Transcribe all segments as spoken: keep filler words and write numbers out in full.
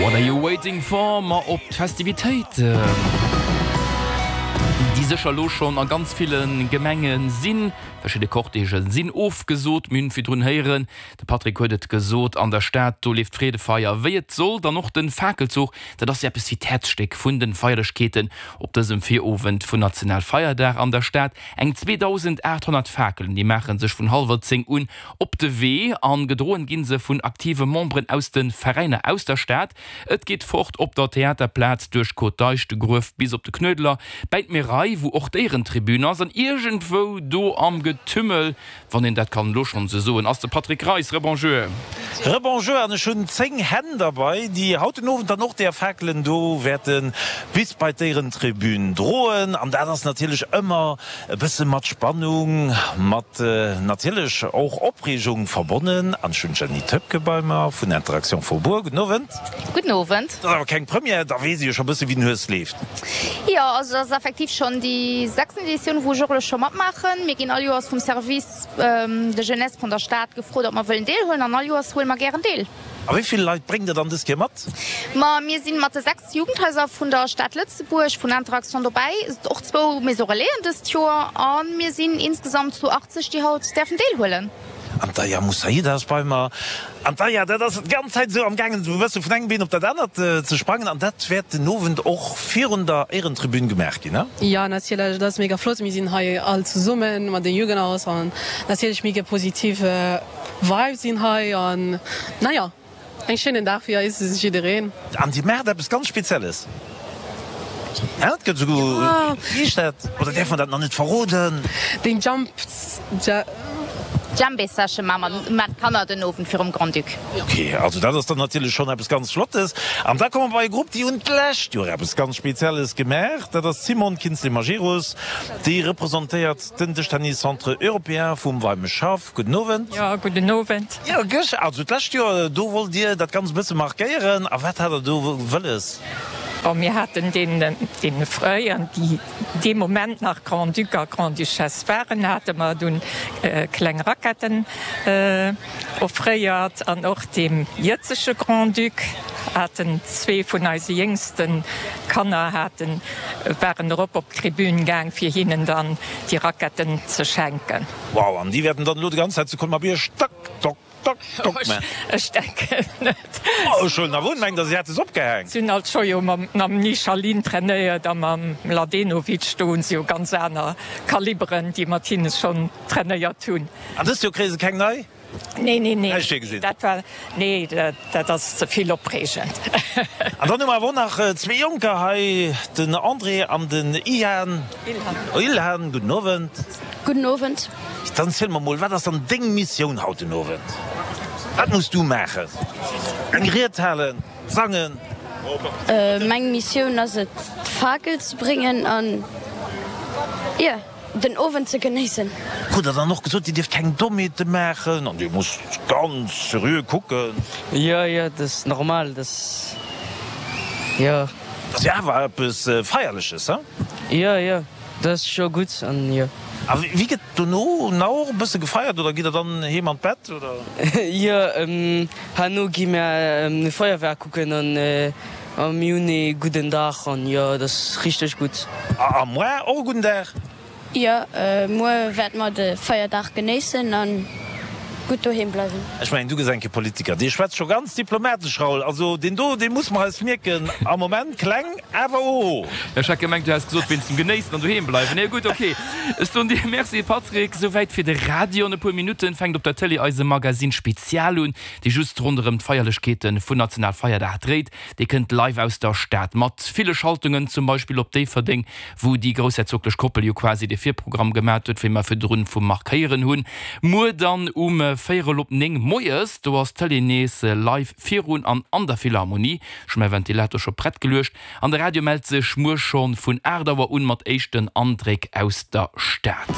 What are you waiting for? Ma op d'Festivitéiten, déi sécher elo schonn a ganz ville Gemenge sinn. Verschidde Cortègë sinn ofgesot. Mir hunn virdrun héieren, de Patrick huet et gesot, an der Stad, do leeft d'Freedefeier wéi et sollt. An och de Fakelzuch, dat ass jo eppes wéi d'Häerzstéck vun de Feierlechkeeten op dësem Virowend vun Nationalfeierdag an der Stad. Eng zweedausendaathonnert Fakelen, déi maache sech vun hallwer zéng un op de Wee an gedroen ginn se vun aktive Memberen aus de Veräiner aus der Stad. Et geet fort op der Theaterplaz, duerch d'Côte d'Eich, de Gruef bis op de Knuedler, bäi d'Meraille, wou och d'Éierentribün ass. An iergendwou do am Getümmel, wann een dat kann elo schonn esou soen, ass de Patrick Reis. Rebonjour. Rebonjour, an ech hunn zéng Hänn derbei, déi haut den Owend dann och där Fakelen do wäerte bis bei d'Éierentribün droen. An dat ass natierlech ëmmer e bësse mat Spannung, mat natierlech och Opreegung verbonnen. An ech hunn d'Jenny Toepke bei mer vun Interaction Faubourg. Gudden Owend. Gudden Owend. Dat ass awer keng Première, da weess ee jo scho bësse wéi den Hues leeft. Jo, also dat ass effektiv schonn déi sechsten Editioun, wou ech och elo scho matmaachen. Mir ginn all Joers vum Service de Jeunesse vun der Stad gefrot, ob mer wëllen deelhuelen an all Joers huele mer gären deel. A wéi vill Leit bréngt Der dann dës Kéier mat? Ma mir si mat de sechs Jugendhaiser vun der Stad Lëtzebuerg, vun Interaction dobäi, och zwou Maison Relaisen dëst Joer a mir sinn insgesamt zu achtzeg, déi haut däerfen deelhuelen. An d'Aya Moussaida ass bei mer. An d'Aya, dat ass d'ganz Zäit esou am gaangen, esou e bësse vun engem Been op dat anert ze sprangen. An dat wäert den Owend och virun der Éierentribün gemaach ginn, ne? Jo, natierlech. Dat ass mega flott. Mir sinn hei all zesummen mat de Jugendhaus an natierlech mega positiv Vibes sinn hei an naja, eng schéinen Dag fir eis jiddereen. An Dir maacht eppes ganz Spezielles, hä? Et gëtt esouguer, wéi heescht dat? Oder däerf mer dat nach net verroden? Den Jump, Djembé Session maache mer mat Kanner den Owend virum Grand-Duc. Ok, also dat ass dann natierlech schonn eppes ganz Flottes. An da komme mer bei e Grupp, déi hunn d'lescht Joer eppes ganz Spezielles gemaach. Dat ass d'Simone Kinzlé-Majerus, déi representéiert den Dëschtennis Centre Européen vum Weimeschhaff. Gudden Owend. Jo, gudden Owend. Jo, gësch, also d'lescht Joer, do wollt Dir dat Ganzt e bësse markéieren. A wat hat Der do wëlles? Bon, mir haten deenen, deene fréieren, déi dee Moment nach Grand-Duc a Grand-Duchesse waren, hate mer dunn kleng Raquetten offréiert. An och deem jëtzege Grand-Duc haten zwee vun eise jéngste Kanner haten, waren erop op d'Tribün gaang, fir hinnen dann déi Raquetten ze schenken. Wow, an déi wäerten dann elo déi ganz Zäit zu Colmar-Bierg Tack, tock, tock, tock man. Ech denken net. Oh, ech huelen awer un, mengt der si hätt es opgehaang? Si hunn alt scho jo mam Michalin trainéiert a mam Mladenovic, do hunn se jo ganz aner Kaliberen, déi mat hinne schonn trainéiert hunn. An dëst Joer kréie se keng nei? Nee, nee, nee, Näischt virgesinn? dat war, nee, dat ass ze vill opreegend. An dann hu mer awer och nach zwee Jonker hei, den André an den Ian. Ilhan. Ilhan, gudden Owend. Gudden Owend. Dann ziel mer mol, wat ass dann deng Missioun haut den Owend? Wat muss du maachen? Eng Ried halen? Sangen? Meng Missioun ass et d'Fakel ze bréngen an jo den Owend ze genéissen. Krut der dann och gesot, dir dierft keng Dommheete maachen an dir musst ganz seriö kucken? Jo, jo, dat ass normal, dat jo. Dat ass jo awer eppes Feierleches, he? Jo, jo. Dat ass scho gutt an jo. A wéi gëtt dono nach och e bësse gefeiert oder gitt der dann heem an d'Bett oder? Jo, herno gi mär e Feierwerk kucken an mir hunn ee gudden Dag an jo, dat ass richteg gutt. A muar och e gudden Dag? Jo, muer wäerte mer de Feierdag genéissen an gutt doheem bleiwen. Ech mengen, du gëss eng Kéier Politiker. Dee schwätzt scho ganz diplomatesch, Raoul. Also deen do, dee muss mer eis mierken. Am Moment kleng, awer oho. Ech hat gemengt, du häss gesot, wéinst dem Genéissen an doheem bleiwen. Nee, gutt, ok. Ech soen dir Merci, Patrick. Souwäit fir de Radio. An e puer Minutten fänkt op der Tëlee eise Magazine Spezial un, dee just ronderëm d'Feierlechkeete vun Nationalfeierdag dréit. Dee kënnt live aus der Stad, mat ville Schaltungen, zum Beispill op Déifferdeng, wou déi groussherzoglech Koppel jo quasi de Virprogramm gemat huet, wéi mer virdrun vum Marc héieren hunn. Muer dann um véierel op néng moies, do ass d'Tëlee nees live virun an an der Philharmonie. Ech hu mäi Ventilator scho prett geluecht an de Radio mellt sech muer scho vun aacht Auer un mat éischten Andréck aus der Stad.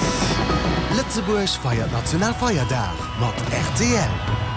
Lëtzebuerg feiert Nationalfeierdag mat rtl.